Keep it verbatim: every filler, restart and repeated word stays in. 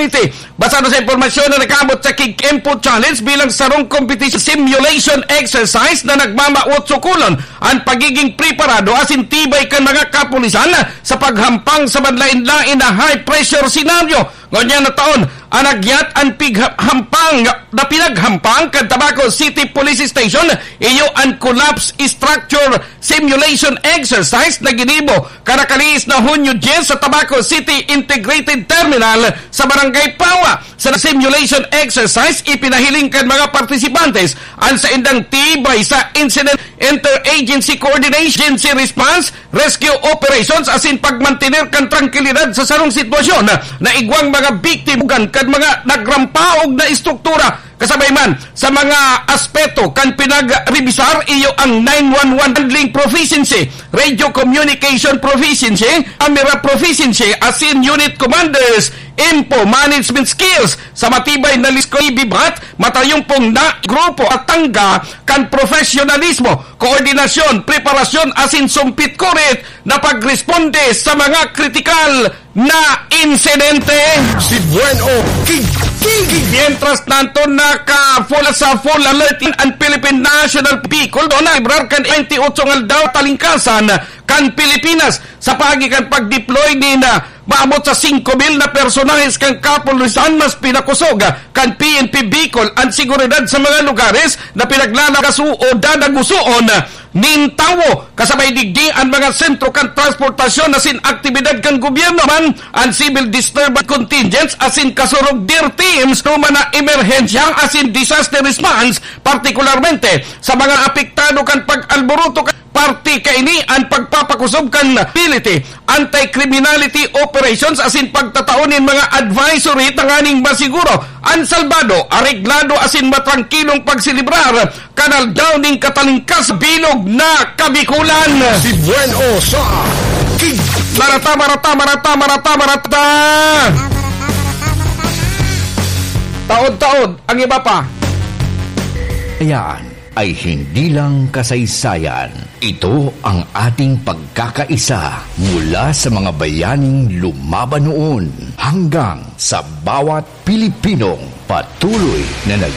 City. Basado sa impormasyon na nakaabot sa Kig Info Challenge bilang sarong competition simulation exercise na nagmamawot sukulon an pagiging preparado asin tibay kan mga kapulisan sa paghampang sa manlaen-laen na high-pressure senaryo. Ngunyan na taon, an nagyat an pigha-, hampang na pinaghampang kan Tabaco City Police Station, iyo an collapse structure simulation exercise na ginibo kan nakalihis na Hunyo dyes sa Tabaco City Integrated Terminal sa Barangay Pawa. Sa simulation exercise, ipinahiling kan mga partisipantes an saindang tibay sa incident interagency coordination, emergency response, rescue operations, asin pagmantener kan trangkilidad sa sarong sitwasyon na igwang mga biktima kan mga nagrampaog na estruktura. Kasabay man sa mga aspeto kan pinagrebisar, iyo ang nine one one handling proficiency, radio communication proficiency, camera proficiency, asin unit commanders info management skills. Sa matibay na lisko, ibibat, matayong pong na grupo at tangga kan profesyonalismo, koordinasyon, preparasyon, asin sumpit-kurit na pagresponde sa mga kritikal na insidente. Si Buen O Kig-, Kig-, Mientras tanto, naka-full sa full alert in ang Philippine National Bicol, doon na librar kan twenty-eight nga aldaw talingkasan kan Pilipinas. Sa paagi kan pag-deploy ni na maabot sa singko mil na personahes kan kapulisan, mas pinakusog kan P N P Bicol an seguridad sa mga lugares na pinaglalakaso o dadagusoon nin tawo. Kasabay digdi, an mga sentro kan transportasyon asin aktibidad kan gobyerno man, an civil disturbance contingents asin kasurog dir teams, tuma na emerhensya asin disaster response, partikularmente sa mga apektado kan pag-alboroto kan parte kaini an pagpapakusog kan ability anti-criminality operations asin pagtatao nin mga advisory tanganing masiguro an salbado, areglado asin matrangkilong pagselebrar kan Aldaw nin Katalingkas bilog na Kabikulan. Si Buen O sa Kig-, Marata, marata, marata, marata, marata! Taod-taod ang iba pa. Ayan ay hindi lang kasaysayan. Ito ang ating pagkakaisa mula sa mga bayaning lumaban noon hanggang sa bawat Pilipinong patuloy na nag